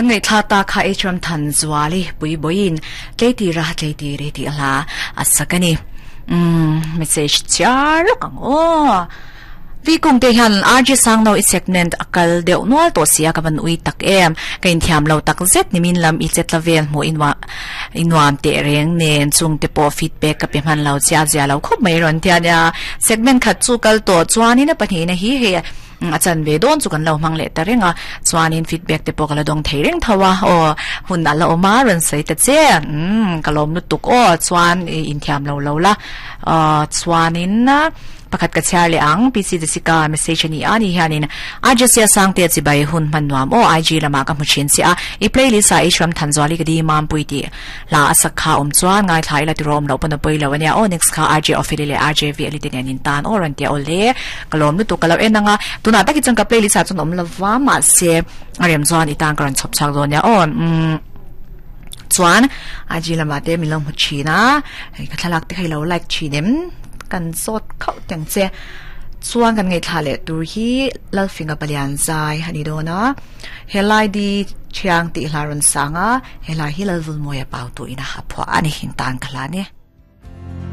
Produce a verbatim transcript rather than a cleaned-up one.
Kan ngai thla ta kha H ram than zuali pui boin tleiti ra tleiti re ti la asakani um message char kang o vi kung te hian R J sang no i segment akal deuh nual to sia ka ban ui tak em ka in thiam lo tak zet nimin lam i chet lavel mu inwa inwam te reng nen chung te po feedback ka pe man lo chia zia lo khop mai ron tia nia segment khat chu kal to chuanin a pahnih na hi he achan ve don chu kan lo mang le ta renga chuanin feedback te po kala dong thei reng thawa o hun ala oma ron sei ta che um kalom nu tuk o chuan in thiam lo lo la chuanin pakhat ka char le ang P C Jessica message ni ani hianin ajesia sangte chi bai hun man nuam o I G lama ka muchin chi a i playlist a ishram thanjwali ka di mam pui ti la asakha om chuan ngai thlai la tirom lo pon pui lo ania o next kha R J ofili le R J V elite nen in tan o ran tia ole kalom nu tu kalo enanga tuna taki chang ka playlist a chun om lova ma se arem chuan itang karan chop chak zo nia o chuan I G lama te milong mu china ka thalak te khailo like chinem kan zot khau teng che chuan kan ngai thla le tur hi lalfinga palian zai hani dona helai di chiang ti hlaron sanga helai hi lalvul moya pau tu ina ha phwa ani hin tan khala ne.